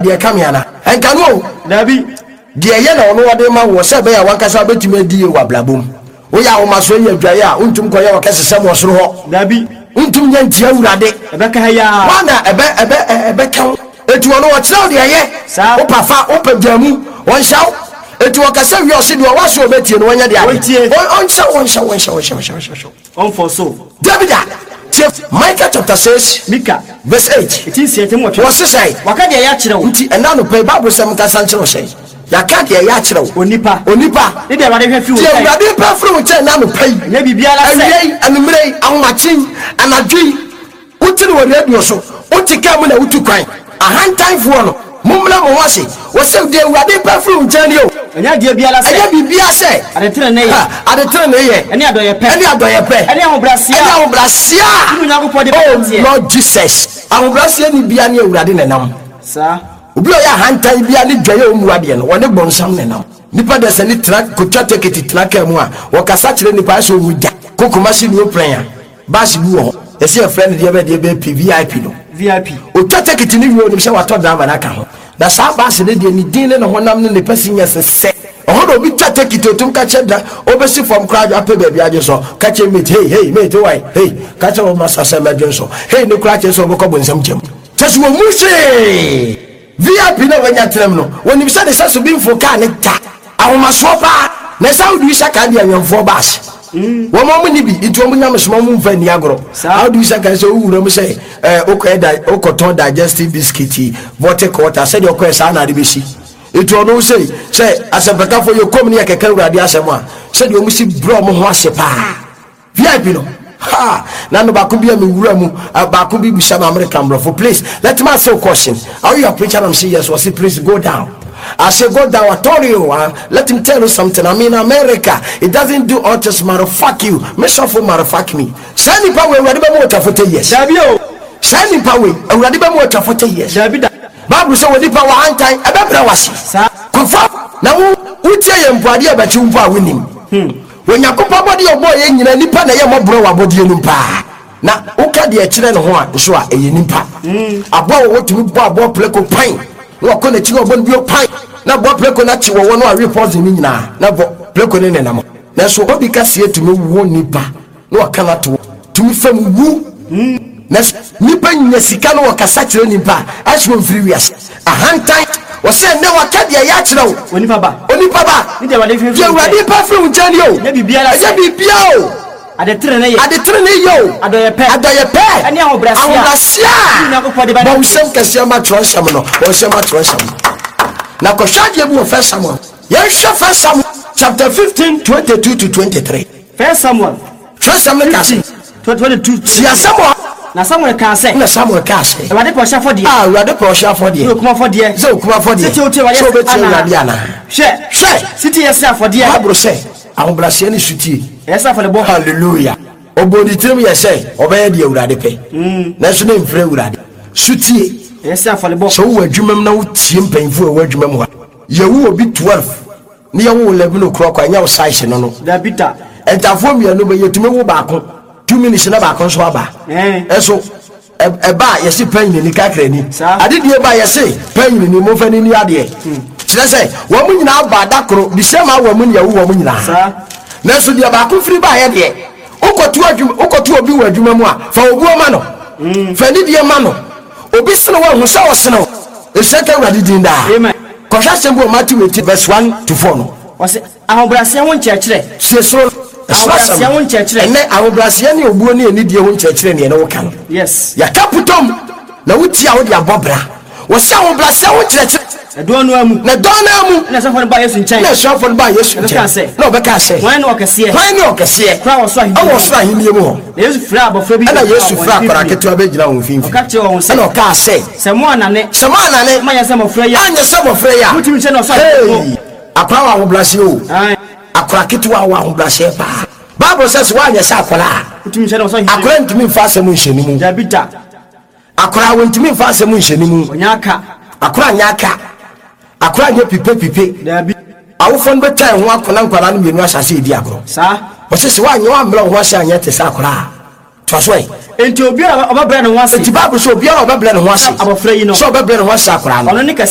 Deɛ ɛka me ana? Ɛnka no o. Dabi. Deɛ ɛyɛ na ɔno ɔde ma woɔ sɛ ɛbɛyɛ a w'ankasa wobɛtumi adi yie wɔ abrabɔ mu. Woyɛ ahomasoɔ yi adwaeɛ a, wontumi nkɔyɛ ɔkɛsesɛm wɔ soro hɔ. Dabi. Wontumi nyɛ ntia Awurade. Ɛbɛka ha yi ara. Hwan na ɛbɛ, ɛbɛ, ɛbɛka wo? Enti ɔno ɔkyerɛ wo deɛ ɛyɛ. Saa. Wopɛ fa, wopɛ gyaa mu, ɔnhyɛ wo. Enti ɔkasa wie a, ɔse deɛ ɔwɔ aso a ɔbɛtie no, ɔnyɛ deɛ ade. Ɔntie. Ɔnhyɛ wo, ɔnhyɛ wo, ɔnhyɛ wo, ɔnhyɛ wo, ɔnhyɛ wo. Ɔmfɔ so. Dabi da! Tie Micah chapter 6 Mika. verse 8. Eti 6 8. Wɔse sɛn? Waka deɛ ɛyɛ akyerɛ wo. Nti ɛnnɛ anɔpa yi Bible sɛm nkasa nkyerɛ wo sɛn? Yɛaka deɛ ɛyɛ akyerɛ wo. Onipa. Onipa. Ne deɛ Awurade hwɛ firi wo Deɛ nkyɛn. Awurade pɛ firi wo nkyɛn ɛnnɛ anɔpa yi. Ɛnyɛ biribiara sɛ. Awia yi, anwummerɛ yi, ahomakye yi, anadwo yi. Wote no wɔ radio so, wote kaa mu na wotu kwan. Ahantanfoɔ no, mommrɛ mo ho ase. Wɔse, Deɛ Awurade pɛ firi wo nkyɛn nie o. Ɛnyɛ adeɛ biara sɛ. Ɛnyɛ biribiara sɛ. Adetenenee yɛ. Ha, adetenenee yɛ. Ɛne adɔeɛpɛ. Ɛne adɔeɛpɛ. Ɛne ahobrɛaseɛ a. Ɛne ahobrɛaseɛ a. Wo ne Onyankopɔn de bɛnanteɛ. Oh Lord Jesus. Ahobrɛaseɛ ni biara ne Awurade na ɛnam. Saa. Obi a ɔyɛ ahantan biara ne dwaeɛ a ɔmmu adeɛ no, ɔne bonsam na ɛnam. Nipa dasani tena, kɔtwa tekiti tena kaa mu a, ɔkasa kyerɛ nipa ayɛ sɛ ɔwu da. Kɔ Kumasi New Prɛn a. Bus bi wɔ hɔ, yɛse yɛfrɛ no deɛ bɛn deɛ bɛn P, VIP no. VIP. Ɔtwa tekiti no wie a, ɔnim sɛ watɔ driver no aka ho. Na saa bus no deɛ, ne din ne ne honam ne ne passengers sɛ. Ɛhɔ na obi twa tekiti, ɔtumi ka kyerɛ dra, ɔbɛsi fam koraa apɛ baabi adwe sɔ, ka kyerɛ mate, hey, hey, mate, why, hey, ka kyerɛ wo masa sɛ mɛdwe nsɔ, hey no koraa kyerɛ sɛ ɔbɛkɔ bonsam gyam. Kyerɛ sɛ wɔmmu hwee. VIP no a wanya tenam no, wɔnim sɛ ne sɛso bi mforo kaa no da. Ahomasoɔ paa. Na ɛsɛ Audu Issaka deɛ awɛmfoɔ bus. Wɔn a wɔnni bi nti wɔn nyamesom wɔn mfa nni agorɔ. Audu Issaka sɛ wowura mu sɛ ɛɛ wokɔyɛ da wokɔtɔn digestive biscuit yi, vortic water sɛdeɛ ɔkɔɛ saa na ade bɛsi. Nti ɔno sei sɛ asɛmpakafoɔ yɛ kɔm ne yɛkɛka Awurade asɛm a sɛdeɛ wɔn si brɛ wɔn ho ase paa. VIP no ha na no baako bi a me wura mu baako bi bisa me American brɔfo please let me ask you a question are you a preacher I'm say yes wɔsi please go down I say go down I told you let me tell you something I'm in America it doesn't do autism motherfuck you me sɔfo motherfuck me saa nipa wei awurade bɛ mu ɔtwa 40 years Dabi o. saa nipa wei awurade bɛ mu ɔtwa 40 years Dabi da. Bible sɛ wɔ nipa wɔ ahantan ɛbɛbrɛ wase Saa. kɔfa na wo wotie yɛ mpo adeɛ ɛbɛkye wo mpo a wonim Onyankopɔn abɔdeɛ a ɔbɔɔ yɛn nyinaa, nnipa na ɛyɛ mmɔborɔ wɔ abɔdeɛ no mu paa. Na woka deɛ ɛkyerɛ ne ho a nso a, ɛyɛ nnipa. Aboa wɔwɔ tumi bɔ aboa prako pan, na wakɔ n'akyi na wabɔ no bio pan, na aboa prako no akye wɔwɔ no awe poison no nyinaa, na bɔ prako no nenam. Nanso obi kaseɛ tumi wo nnipa na waka no ato hɔ, tumi fa mu wu. Nanso nnipa nya sika na wɔkasa kyerɛ nnipa a, ayɛ sɛ wɔmfiri wiase. Ahantan. Wɔse ɛnnɛ waka deɛ ɛyɛ akyerɛ wo. Onipa ba. Onipa ba. Ne deɛ Awurade hwɛ Deɛ firi wo Awurade nkyɛn. pɛ firi wo nkyɛn nie o. Ɛnyɛ biribiara sɛ. Ɛnyɛ biribiara o. Ade tenenee yɛ. Ade tenenee yɛ o. Adɔeɛ pɛ. Adɔeɛ pɛ. Ɛne ahobrɛaseɛ a. Ahobrɛaseɛ a. Wo Nyankopɔn de bɛnante. Bɔ wo nsam kɛseɛ ma twerɛnsɛm no. Bɔ wo nsam ma twerɛnsɛm no. Na kɔhwɛ adeɛ bi wɔ First Samuel. Yɛnhwɛ First Samuel chapter 15, 22 to 23. First Samuel. Twerɛsɛm no ka sɛ. Tie asɛm a. Na Samuel kaa sɛ. Na Samuel kaa sɛ. Awurade pɛ ɔhyeɛ afɔdeɛ. A Awurade pɛ ɔhyeɛ afɔdeɛ. Ne okum afɔdeɛ. Sɛ okum afɔdeɛ. Sɛ wotie Awurade Sɛ wobɛtie anaa. Awurade anaa. Hwɛ. Hwɛ. Setie yɛ sɛ afɔdeɛ. Bible sɛ, ahobrɛaseɛ ne sotie. Ɛyɛ sɛ afɔrebɔ. Hallelujah. Ɔbɔɔ ne tirim yɛ sɛ ɔbɛyɛ deɛ Awurade pɛ. Nanso na ɛmfiri Awurade. Sotie. Ɛyɛ sɛ afɔrebɔ. Sɛ wowɔ adwuma mu na wotie mpanyimfoɔ a ɛwɔ adwuma mu a, yɛwo obi 12. Ne yɛ wo 11 o'clock a ɛnyɛ wo size no no. Dabi da. Ntafoɔ mmienu bɛ yɛtumi wo baako 2 minutes na baako nso aba. Ɛso ɛba a yɛse panyini ni kakrani. Adedie ba yɛse panyini ni momfa ni ni adeɛ. Kyerɛ sɛ wɔn mu nyinaa ba da koro the same hour mu ne yɛwo wɔn nyinaa. Nanso deɛ baako firi baeɛ deɛ wokɔto adwuma wokɔto obi wɔ adwuma mu a fa obuo ma no. Fa anidie ma no. Obi sene wo a hu sɛ ɔsene wo. Nhyira nka Awurade din daa. Amen. Kɔhwɛ asɛm bi wɔ Matthew 18 verse 1 to 4 no. Ɔse, ahobrɛaseɛ ho nkyerɛkyerɛ. Sie soro ɛsoro asɛm Ahobrɛaseɛ ho nkyerɛkyerɛ. Ɛnnɛ ahobrɛaseɛ ne obuo ne anidie ho nkyerɛkyerɛ ne yɛne wo ka no. Yes. Yɛka putom na wotie a wode abɔ bra. Wɔse ahobrɛaseɛ ho nkyerɛkyerɛ. Ɛdɔn no ara mu. Na dɔn no ara mu. Ɛna asuafoɔ no baa Yesu nkyɛn. Ɛna asuafoɔ no baa Yesu Na nkyɛn. ɔbɛkaa sɛ. Na ɔbɛkaa sɛ. Hwan ne ɔkɛseɛ? Hwan ne ɔkɛseɛ? Koraa wɔ soro ahennie Ɛwɔ mu. soro ahennie mu hɔ. Na Yesu frɛɛ abɔfra bi Ɛna bɛgyinaa Yesu wɔn frɛɛ akwadaa mfimfini. ketewa bɛgyinaa wɔn mfimfini. Ɔka kyerɛɛ wɔn sɛ. Ɛna ɔkaa sɛ. Sɛ moannane. Sɛ moannane. Moanyɛ sɛ mmɔfra yi a. Anyɛ sɛ mmɔfra yi a. Montumi nhyɛne ɔsoro ahennie mu. Hey! Akwadaa wɔ ahobrɛaseɛ o. Aane. Akwadaa ketewa wɔ ahobrɛaseɛ paa. Bible sɛ sɛ woanyɛ sɛ akwadaa a. Wontumi nhyɛne ɔsoro ahennie mu. Akwadaa ntumi mfa asɛm nhyɛ ne mu. Dabi da. Akwadaa wɔntumi mfa asɛm nhyɛ ne mu. Ɔnyɛ aka. Akwadaa nyɛ aka. Akwadaa nyɛ pipepipe. Dabi. Awofoɔ no bɛtwa ɛho ako na nkwadaa no mmienu ahyɛ ase redi agorɔ. Saa. Wɔse sɛ woanyɛ woammrɛ wo ho ase anyɛ te sɛ akwadaa a. Toa so ɛ. Enti obiara a ɔbɛbrɛ ne ho ase. Enti Bible sɛ obiara a ɔbɛbrɛ ne ho ase. Sɛ abɔfra yi no. Sɛ ɔbɛbrɛ ne ho ase akwaraa no. Ɔno ne kɛseɛ.